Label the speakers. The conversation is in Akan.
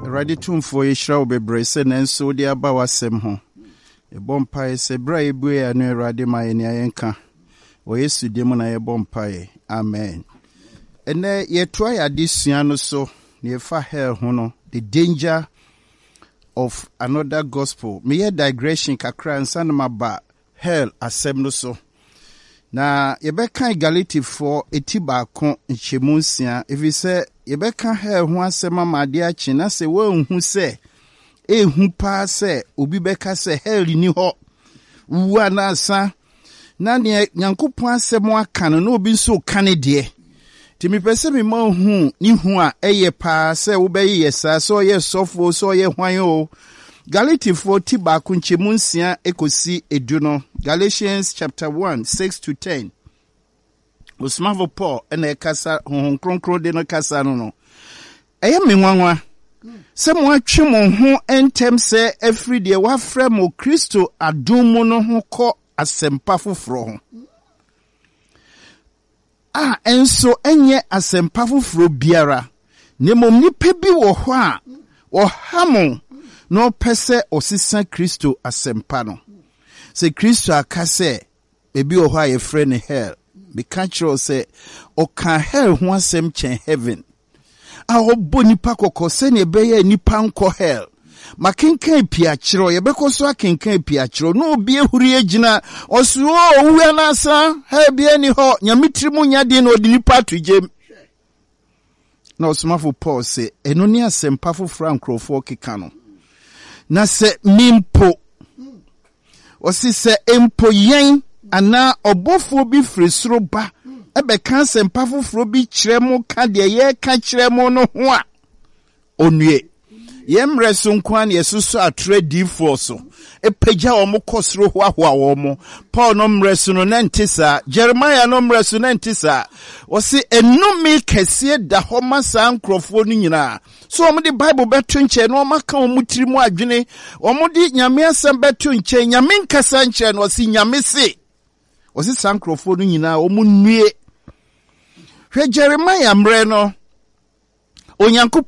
Speaker 1: Awurade Tumfoɔ, yɛhyira wo bebree sɛ nanso wode aba w'asɛm ho. Yɛbɔ mpaeɛ sɛ berɛ a yɛbue yɛn ano Awurade ma yɛn nea yɛnka. Wɔ Yesu din mu na yɛbɔ mpaeɛ. Amen. Ɛnɛ yɛtoa yɛn adesua no so na yɛfa hell ho no, the danger of another gospel. Meyɛ digression kakra ansa na maba hell asɛm no so. Na yɛbɛkan Galatifoɔ eti baako nkyɛmu nsia, ɛfiri sɛ yɛbɛka hell ho asɛm ama adeɛ akye na sɛ woanhu sɛ ehu paa sɛ obi bɛka sɛ hell nni hɔ, wowu anaasa na nea Nyankopɔn asɛm aka no na obi nso reka ne deɛ. Nti mepɛ sɛ mema ohu ne hu a ɛyɛ paa sɛ wobɛyeyɛ saa, sɛ ɔyɛ sɔfo o, sɛ ɔyɛ hwan o. Galatifoɔ ti baako nkyɛmu nsia kɔsi edu no, Galatians chapter 1, 6 to 10. Osomafo Paul na ɛkasa, Honhom Kronkron de no kasa no no. Ɛyɛ me nwanwa sɛ moatwe mo ho ntɛm sɛ afiri deɛ wɔafrɛ mo Kristo adom mu no ho kɔ asɛmpa foforɔ ho, a ɛnso ɛnyɛ asɛmpa foforɔ biara, na mmom nnipa bi wɔ hɔ a wɔha mo na wɔpɛ sɛ wɔsesa Kristo asɛmpa no. Sɛ Kristo aka sɛ Baabi wɔ hɔ a yɛfrɛ no hell. Meka kyerɛ wo sɛ, ɔkaa hell ho asɛm kyɛn heaven. A ɔbɔ nnipa kɔkɔ sɛnea ɛbɛyɛ a nnipa nkɔ hell. Makenkan pii akyerɛ wo, yɛbɛkɔ so akenkan pii akyerɛ wo. Na obi ahuri agyina, ɔse, o, owu anaasa, hell biara nni hɔ, Nyame tiri mu nya den na ɔde nnipa ato gyam. Na ɔsomafo Paul se, ɛno ne asɛmpa foforɔ a nkurɔfoɔ keka no. Na sɛ me mpo, ɔse sɛ mpo yɛn anaa ɔbɔfoɔ bi firi soro ba bɛka asɛmpa foforɔ bi kyerɛ mo ka deɛ yɛreka kyerɛ mo no ho a, ɔnnue. Yɛn mmerɛ so nko ara na yɛsosɔ atorɔ adiyifoɔ so, pagya wɔn kɔ soro hoahoa wɔn. Paul no mmerɛ so no, na ɛnte saa. Jeremiah no mmerɛ so, na ɛnte saa. Wɔse nnome kɛseɛ da hɔ ma saa nkurɔfoɔ no nyinaa. So wɔde Bible bɛto nkyɛn na wɔaka wɔn tiri mu adwene, wɔde Nyame asɛm bɛto nkyɛn, Nyame nkasa nkyerɛ no, wɔse Nyame se. Wɔse saa nkurɔfoɔ no nyinaa wɔn nnue. Hwɛ Jeremiah mmerɛ no, Onyankopɔn.